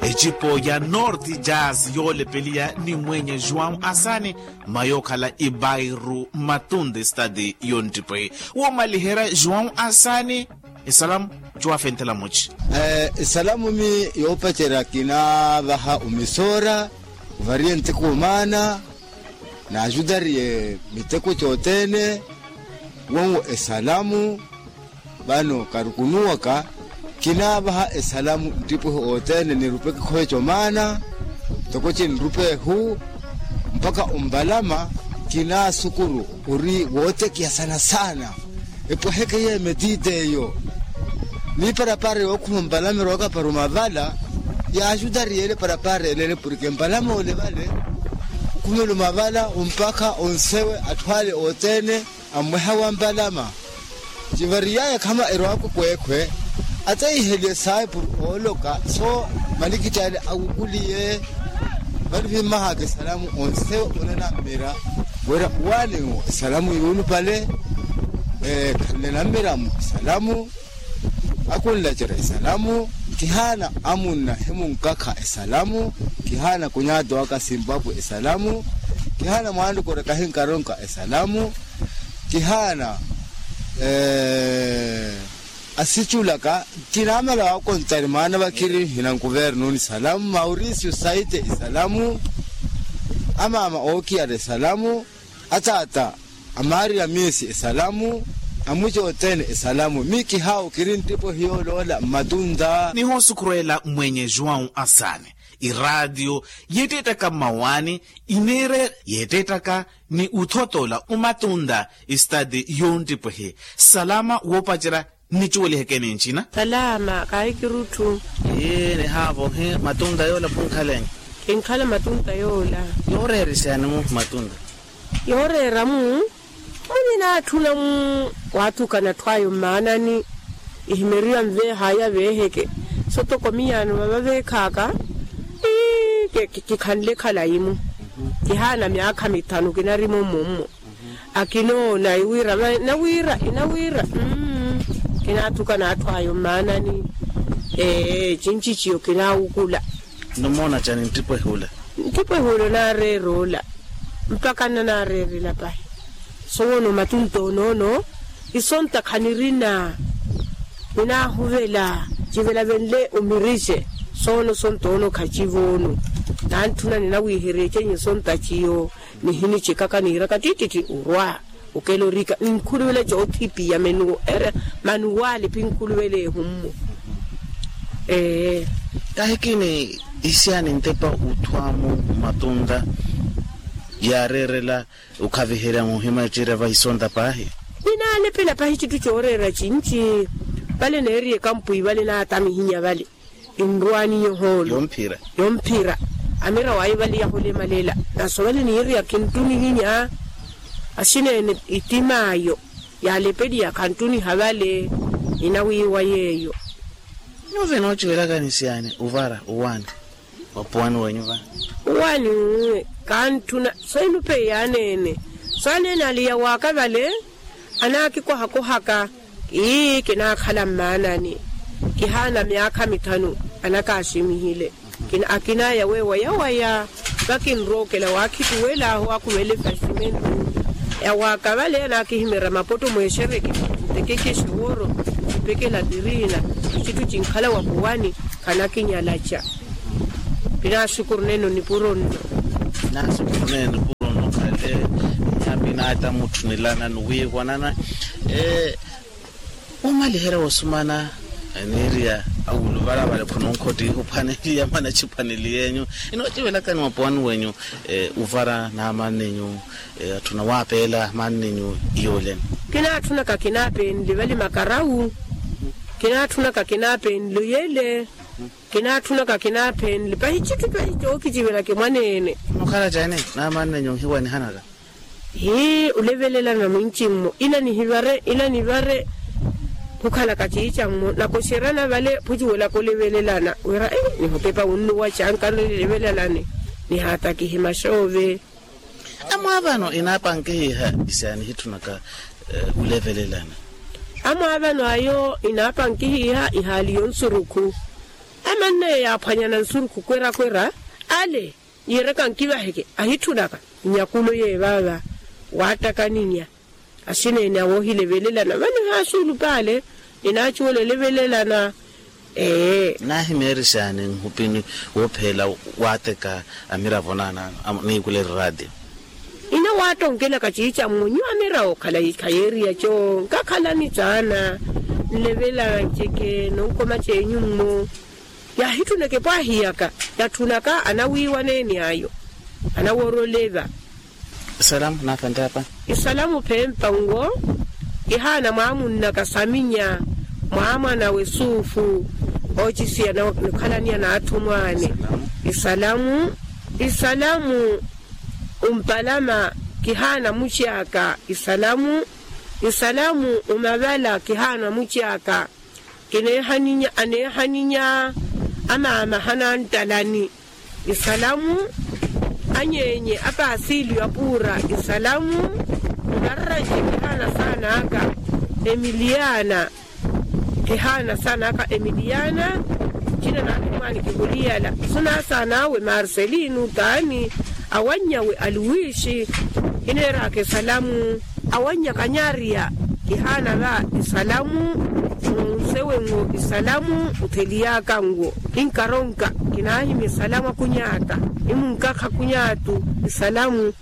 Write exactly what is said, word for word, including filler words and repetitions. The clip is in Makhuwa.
Ecipo ya norte jazz yoolepeliya ni mweenye juwau asani, mma yookhala ibairu matunde stadi yonttipwehi. Woomaliherya juwau asani, esalamu cuwafenthela muci. Esalamu mi yoopacerya kinaavaha omisoora, ovariye nteko omaana, naajutariye miteko cothene. Wonwo esalamu. Vano karukunuwaka, kinaavaha esalamu nttipwehi othene nirupeke khoveca omaana, ntoko cinrupehu mpakha ompalama. Kinaasukuru ori wootekiha sana sana. Epweheke yeemetite eyo. Ni parapara yookhuma ompalama erooka para omavala, yaajutariye ele parapara elele porke empalama ole vale, okhumela omavala ompakha onsewe atthu ale othene, ammweha wa mpalama. Civariyaya khama erowaka okweekhwe, ateihelye saipuru ooloka so, malikitti ale awukuliye. Vale vimmahaka esalamu onse onanammira wira waaniwo esalamu yuulupale. Khanle nammiramo esalamu, akunlacerya esalamu. Kihaana amunna himunkakha esalamu. Kihaana kunyaata waka simpapwe esalamu. Kihaana mwaanrukura kahinkaronka esalamu. Kihaana asiculaka. Kinaamala waakontari mwaana vakiri hina nkuvernuni esalamu mauricio saite esalamu. Amaama ookiyara esalamu. Ataata amariya miisi esalamu. Amuci othene esalamu mi kihaawu kiri nttipwehi yooloola mmatunta. Nihoosukhurweela mmwenye juwau asani. Iraatiyo yeetteettaka mmawaani ineererya yeetteettaka ni uthotoola omatunta. Estati yonttipwehi. Salama woopacerya nnicuweliheke ni ncina. Salama kaahikirutthu. Ii nihaavohe matunta yoola khunkhalenya. Kinkhala matunta yoola. Yooreera isyani mu matunta? Yooreera mu muninatthuna mu waathukana atthu ayo mmaanani. Ihimeriwa nveehaya veeheke. Sotoko miyaano vava veekhaaka. Ii kikhanle khalayi mu. Kihaana myaakha mithanu kinarimo mmummo. Akinoona iwira inawira inawira. Kinaatthukana atthu ayo mmaanani. Ee cinci ciyo kinaawukula. Nimoona cani nttipwehi ula? Nttipwehi ula onaareera ola. Mpakha nnanaareerela pahi. Sowoono matunta onoono isonta khanirina. Ninaahuvela civela venle omirixe. Soono sonta ono khacivoono. Nantthuna ninawiiherya ecenyi sonta ciyo. Nihinicekaka niiraka ttittitthi orwa okela orika ninkhuluvela coothipiya menuwo ere manuwaali phinkhuluvela ehummu. Ee. Kahikini isiya nintepa uthwaamu matunta yaareerela okhaviherya muhima ecerya vahisonta paahi. Ninaalepela pahi citthu cooreera cinci. Vale neeriye kampwi vale naatamihinya vale. Enrwaani yohoolo yomphira. Yomphira amira wayo vale yaholemaleela. Naso vale niiriya khinttunihinya. Asineene ittimaayo yaalepeliya khanttuniha vale. Ninawiiwa yeeyo. Nyuwo vinoocivelaka nisiyani ovara owaani? Opuwani wenyu vale owaani. Kanttuna so enupe yaaneene. So aneene aliya waaka vale. Anaakikohakohaka. Ii kinaakhala mmaanani. Kihaana myaakha mithanu anakaximihile. Akinaya weewayawaya vakinrookela waakhituwelaahu akhuvele fasimentu. Yawaaka vale anaakihimerya mapotto mweexereke. Ntekekeshe wooro mpekela tiriina. Icitthu cinkhala wapuwani khanakinyalaca. Pinaaxukuru neene onipuro nno. Pinaaxukuru neene onipuro nno khale. Nyaapi naata mutthu nilana nuwiivo nana. Womaliherya wosumana aniiriya awuluvala vale khunonkhottiha ophwaneliya mana chiphwaneli yenyu. Inoocivelakani mwapuwani wenyu uvara n'amanninyu. Atthuna waapeela amanninyu iyooleni. Kinaatthunaka kinaapenle vale makarawu. Kinaatthunaka kinaapenle oyele. Kinaatthunaka kinaaphenle pahi citthu pahi cookicivelaka mwaneene. Mukhala cani n'amanne nyuhiwanihanaka? Hii olevelelana mwinci-mmo ila nihivare ila nivare. Khukhalaka ciica-mmo nakoxerana vale phucuwelaka olevelelana wira nihotepa wunnuwa canka nlevelelane. Nihaatakihe maxoove. Amwaavano inaapankihiha isaani hitthunaka olevelelana. Amwaavano ayo inaapankihiha ihaali yonsurukhu. Manneyo yaaphwanyana nsurukhu kwera-kwera ale yiiraka nkivaheke ahitthunaka nyakulo yeevaava. Waattakaninya asineene awoohilevelelana vano ehaasuulupa ale ninaacuwela elevelelana. Ee. Naahimeerixaani nhupini woopheela waatteka amiravo naanaano niikulela eraatiyo. Ina waattonkelaka ciica mmo nyuwo amiravo khayeeriya co nkakhalani caana nlevelelana nceke nonkoma ceenyu mmo. Yaahitthunaka epwaahi yaka yatthunaka anawiiwaneeni ayo anawoora oleva. Isalamu naaphantte apa. Isalamu phempa nwo kihaana mwaamunnaka saminya mwaamwanawe suufu oocisiya nokhalaniya n'atthumwaani. Isalamu isalamu umpalama kihaana muci aka. Isalamu isalamu umavala kihaana muci aka. Kineehaninya aneehaninya amaama hanantalani. Isalamu anyeenye apaasiliyo apuura. Isalamu mumarranci kihaana saana aka emiliyaana. Kihaana saana aka emiliyaana. Cina naatthumwaani kihuliyala sunaasaan'awe marcelino taani awannyawe aluwiixi. Kineeraka isalamu awannyaka nyariya. Kihaana va isalamu nonsewe nwo isalamu otheliyaka nwo. Kinkaronka kinaahimya isalamu akunyaata nimunkakha akunyaatu isalamu.